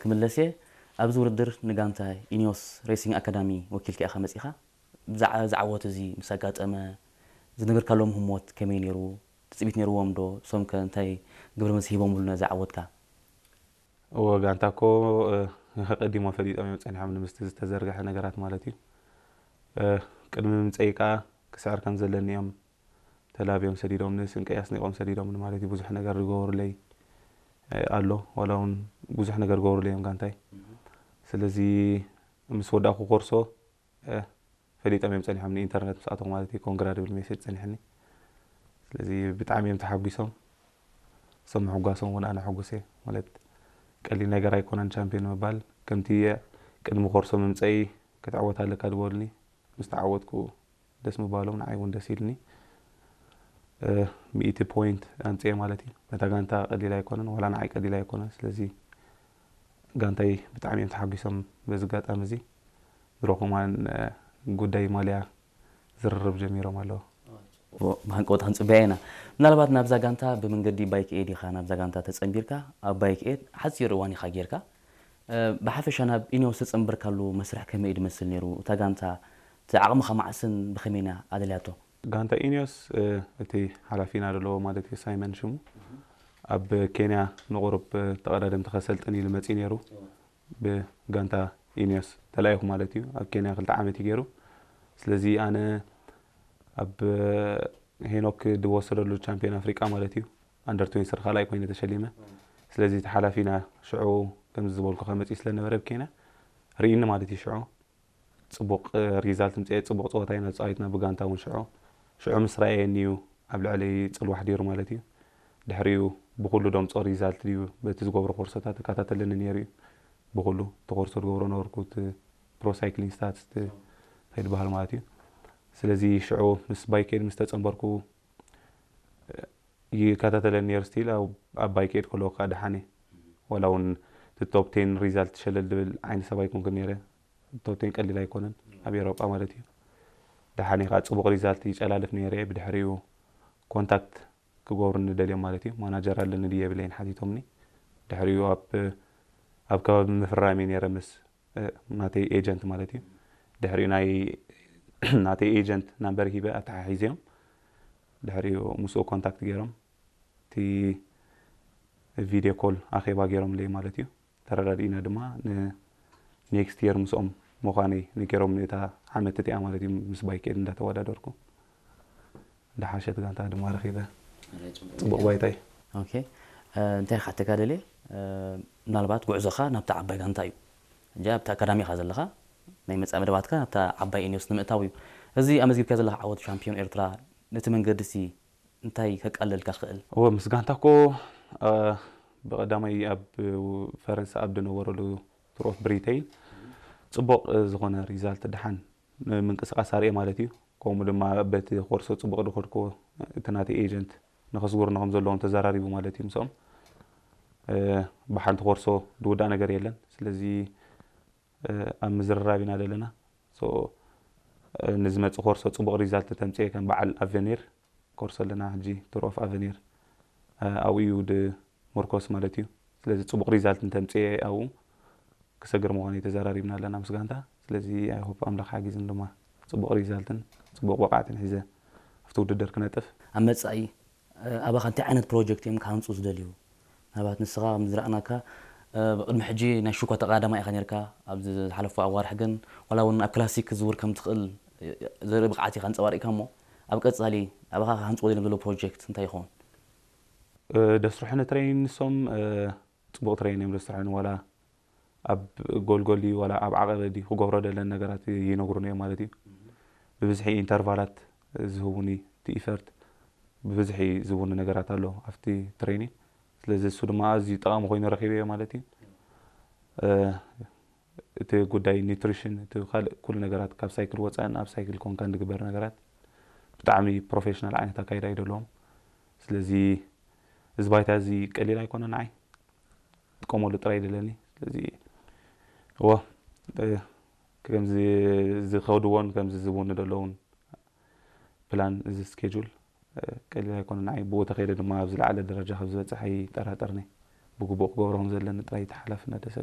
ክምለስ እየ። ኣብዚ ውድድር ንጋንታ ኢኒዮስ ሬሲንግ ኣካዳሚ ወኪልካ ኢኻ መጺኻ። ብዛዕባ እዚ ዓወት እዚ ምስ ኣጋጠመ ዝነበርካሎም ህሞት ከመይ ነይሩ? ትጽቢት ነይርዎም ዶ? እሶም ከ እንታይ ግብረ መልሲ ሂቦምሉ ነዚ ዓወትካ? እወ፣ ጋንታ እኮ ቀዲሞ ፈሊጦም እዮም ጸኒሖም፣ ንምስቲ ዝተዘርግሐ ነገራት ማለት እዩ። ቅድሚ ምምፀይ ከዓ ክስዕር ከም ዘለኒ እዮም ተላብዮም ሰዲዶምኒ፣ ስንቀይ ኣስኒቆም ሰዲዶምኒ ማለት እዩ። ብዙሕ ነገር ዝገበሩለይ ኣሎ፣ ዋላ እውን ብዙሕ ነገር ዝገበሩለይ እዮም ጋንታይ። ስለዚ ምስ ወዳእኩ ኮርሶ ፈሊጦም እዮም ጸኒሖም፣ ንኢንተርነት ምስ ኣተኹ ማለት እዩ። ኮንግራ ዝብል ሜሴጅ ጸኒሕኒ። ስለዚ ብጣዕሚ እዮም ተሓጒሶም። እሶም ምሕጓሶም እውን ኣነ ሕጉስ እየ። ማለት ቀሊል ነገር ኣይኮነን ቻምፒዮን ምባል። ከምቲ ቅድሚ ኮርሶ ምምፀኢ ክትዕወት ኣለካ ዝበሉኒ፣ ምስ ተዓወትኩ ደስ ምባሎም ንዓይ እውን ደስ ኢልኒ። ሚእቲ ፖይንት ኣምፅኤ ማለት እዩ። ነታ ጋንታ ቀሊል ኣይኮነን፣ ዋላ ንዓይ ቀሊል ኣይኮነን። ስለዚ ጋንታይ ብጣዕሚ እዮም ተሓጒሶም በዚ ኣጋጣሚ እዚ። ድሮ ከማን ጉዳይ ማልያ ዝርርብ ጀሚሮም ኣለዉ። ብሃንቀውታ ክንፅበያ ኢና። ምናልባት ናብዛ ጋንታ ብመንገዲ ባይክ ኤድ ኢኻ ናብዛ ጋንታ ተፀንቢርካ። ኣብ ባይክ ኤድ ሓፂር እዋን ኢኻ ጌርካ። ብሓፈሻ ናብ ኢኒዮስ ተፀንበርካሉ መስርሕ ከመይ እዩ ዝመስል ነይሩ? እታ ጋንታ እቲ ዓቕምኻ ማዕስን ብኸመይና ኣደልያቶ? ጋንታ ኢኒዮስ እቲ ሓላፊና ዘለዎ ማለት እዩ ሳይመን ሽሙ ኣብ ኬንያ ንቑሩብ ተቐዳደምቲ ከሰልጥን ኢሉ መፂኡ ነይሩ። ብጋንታ ኢኒዮስ ተላኢኹ ማለት እዩ። ኣብ ኬንያ ክልተ ዓመት እዩ ገይሩ። ስለዚ ኣነ ኣብ ሄኖክ ዝወሰደሉ ቻምፒዮን ኣፍሪቃ ማለት እዩ ኣንደር ትዌንቲ ካልኣይ ኮይነ ተሸሊመ። ስለዚ እቲ ሓላፊና ሽዑ ከምዚ ዝበልኩ ከመፅእ ስለነበረ ኣብ ኬንያ ርኢኒ ማለት እዩ። ሽዑ ፅቡቕ ሪዛልት ምፅኤ፣ ፅቡቕ ፀወታ ኢና ተፃዊትና ብጋንታ እውን ሽዑ ሽዑ ምስ ረኣየኒ እዩ ኣብ ልዕለይ ፅልዋ ኣሕዲሩ ማለት እዩ። ድሕሪኡ ብኩሉ ደምፆ ሪዛልት ድዩ በቲ ዝገብሮ ኮርሶታት ይከታተለኒ ነይሩ እዩ። ብኩሉ እቲ ኮርሶ ዝገብሮ ነበርኩ፣ እቲ ፕሮ ሳይክሊንግ ስታትስ እቲ ከይድበሃል ማለት እዩ። ስለዚ ሽዑ ምስ ባይኬድ ምስ ተፀንበርኩ ይከታተለኒ ነይሩ። ስቲል ኣብ ባይኬድ ከለዎ ከዓ ደሓን እየ። ዋላ እውን እቲ ቶፕ ቴን ሪዛልት ሸለል ዝብል ዓይነት ሰብ ኣይኮንኩን ነይረ። ቶፕ ቴን ቀሊል ኣይኮነን ኣብ ኤሮጳ ማለት እዩ። ደሓን እየ ከዓ ፅቡቕ ሪዛልት ይጨላልፍ ነይረ እየ። ብድሕሪኡ ኮንታክት ክገብሩኒ ደልዮም ማለት እዩ። ማናጀር ኣለኒ ድዩ የብለይን ሓቲቶምኒ። ድሕሪኡ ኣብ ኣብ ከባቢ ምፍራም እየ ነይረ ምስ ናተይ ኤጀንት ማለት እዩ። ድሕሪኡ ናይ ናተይ ኤጀንት ናምበር ሂበ ኣተሓሒዘዮም። ድሕሪኡ ምስኡ ኮንታክት ገይሮም እቲ ቪድዮ ኮል ኣኼባ ገይሮምለይ ማለት እዩ። ተረዳዲእና ድማ ንኔክስት የር ምስኦም ምዃነይ ነጊሮምኒ። እታ ዓመት እቲኣ ማለት እዩ ምስ ባይኬድ እንዳተወዳደርኩ። ዝሓሸት ጋንታ ድማ ረኺበ። ጽቡቕ ባይታ እዩ። ኦኬ፣ እንታይ ክሓተካ ደልየ፣ ምናልባት ጉዕዞኻ ናብታ ዓባይ ጋንታ እዩ። ሕጂ ኣብቲ ኣካዳሚ ኢኻ ዘለኻ፣ ናይ መጻኢ መደባትካ ናብታ ዓባይ ኢኒዮስ ንምእታው እዩ። እዚ ኣመዝጊብካዮ ዘለኻ ዓወት ቻምፒዮን ኤርትራ ነቲ መንገዲ ሲ እንታይ ከቃልለልካ ክእል? እወ፣ ምስ ጋንታ እኮ ብቐዳማይ ኣብ ፈረንሳ ኣብ ዝነበረሉ ቱር ኦፍ ብሪተይን ጽቡቕ ዝኾነ ሪዛልት ደሓን ምንቅስቃስ ኣርእየ ማለት እዩ። ከምኡ ድማ በቲ ኮርሶ ጽቡቕ ዝኸድክዎ እቲ ናተይ ኤጀንት ንኸስጉርኒ ከም ዘለዎም ተዘራሪቡ ማለት እዩ ምስኦም። ብሓንቲ ኮርሶ ዝውዳእ ነገር የለን። ስለዚ ኣብ ምዝርራብ ኢና ዘለና። ንዝመፅእ ኮርሶ ፅቡቕ ሪዛልት ተምፅኤ ከም በዓል ኣቨኒር ኮርሶ ኣለና ሕጂ ቱር ኦፍ ኣቨኒር ኣብኡ እዩ ድምርኮስ ማለት እዩ። ስለዚ ፅቡቕ ሪዛልት እንተምፅኤ ኣብኡ ክሰግር ምዃኑ ተዘራሪብና ኣለና ምስ ጋንታ። ስለዚ ኣይሆፕ ኣምላኽ ሓጊዝን ድማ ፅቡቕ ሪዛልትን ፅቡቕ ብቕዓትን ሒዘ ኣብቲ ውድድር ክነጥፍ። ኣብ መፃኢ ኣባኻ እንታይ ዓይነት ፕሮጀክት እዮም ክሃንፁ ዝደልዩ? ምናልባት ንስኻ ከም ዝረኣናካ ቅድሚ ሕጂ ናይ ሽኮ ተቐዳዳማይ ኢኻ ነርካ። ኣብዚ ዝሓለፉ ኣዋርሕ ግን ዋላ እውን ኣብ ክላሲክ ክትዝውር ከም ትኽእል ዘርኢ ብቕዓት ኢኻ ኣንፀባሪቕካ። እሞ ኣብ ቀፃሊ ኣባኻ ክሃንፅዎ ደልዮም ዘለዉ ፕሮጀክት እንታይ ይኸውን? ደስርሑኒ ትሬኒን ንሶም ፅቡቕ ትሬኒን እዮም ደስርሑኒ። ዋላ ኣብ ጎልጎል ድዩ ዋላ ኣብ ዓቐበ ድዩ ክገብሮ ደለን ነገራት ይነግሩኒ እዮም ማለት እዩ። ብብዝሒ ኢንተርቫላት ዝህቡኒ እቲ ኢፈርት ብብዝሒ ዝህቡኒ ነገራት ኣሎ ኣብቲ ትሬኒን። ስለዚ እሱ ድማ ኣዝዩ ጠቓሚ ኮይኑ ረኺበዮ ማለት እዩ። እቲ ጉዳይ ኒትሪሽን እቲ ካልእ ኩሉ ነገራት ካብ ሳይክል ወፃእን ኣብ ሳይክል ኮንካን ዝግበር ነገራት ብጣዕሚ ፕሮፌሽናል ዓይነት ኣካይዳ እዩ ዘለዎም። ስለዚ እዚ ባይታ እዚ ቀሊል ኣይኮነ ንዓይ ጥቀመሉ ጥራይ ደለኒ። ስለዚ እወ ከምዚ ዝኸድዎን ከምዚ ዝብውኒ ዘለውን ፕላን እዚ ስኬጁል ቀሊል ኣይኮነ ንዓይ ብኡ ተኸይደ ድማ ኣብ ዝለዓለ ደረጃ ካብ ዝበፅሕ ኣይጠራጠርኒ። ብግቡእ ክገብሮ ከም ዘለኒ ጥራይ ተሓላፍነት ደሰ